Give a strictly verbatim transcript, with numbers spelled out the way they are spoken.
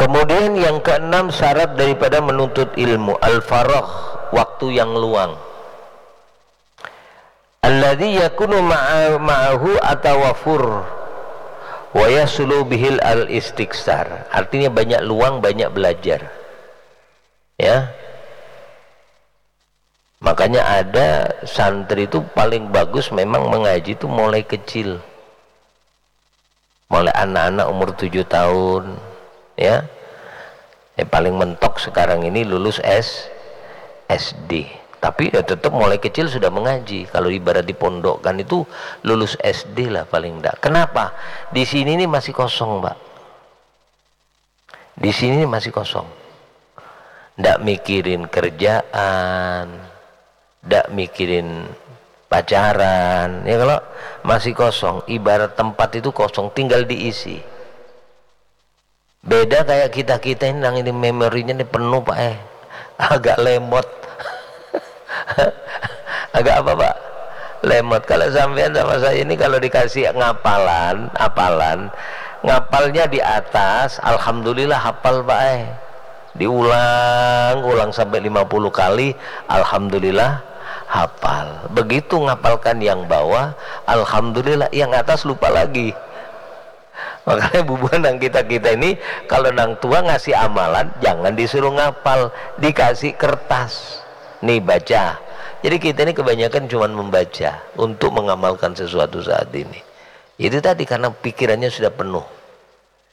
Kemudian yang keenam syarat daripada menuntut ilmu, al-faragh, waktu yang luang. Alladzi yakunu ma'a-, ma'ahu atawafur wa yasulu bihil al-istiksar. Artinya banyak luang, banyak belajar. Ya. Makanya ada santri itu paling bagus memang mengaji itu mulai kecil. Mulai anak-anak umur tujuh tahun, ya. Eh, paling mentok sekarang ini lulus S, S D. Tapi ya tetap mulai kecil sudah mengaji. Kalau ibarat dipondokkan itu lulus S D lah paling enggak. Kenapa? Di sini ini masih kosong, Mbak. Di sini ini masih kosong. Ndak mikirin kerjaan, ndak mikirin pacaran, ya kalau masih kosong, ibarat tempat itu kosong, tinggal diisi. Beda kayak kita-kita ini, nang ini memorinya ini penuh, Pak, eh. Agak lemot. Agak apa, Pak? Lemot. Kalau sampean sama saya ini kalau dikasih ngapalan, apalan, ngapalnya di atas, alhamdulillah hafal, Pak, eh. Diulang, ulang sampai lima puluh kali, alhamdulillah hafal. Begitu ngapalkan yang bawah, alhamdulillah, yang atas lupa lagi. Makanya bubuhan nang kita-kita ini, kalau nang tua ngasih amalan, jangan disuruh ngapal, dikasih kertas. Nih, baca. Jadi kita ini kebanyakan cuman membaca untuk mengamalkan sesuatu saat ini. Itu tadi karena pikirannya sudah penuh.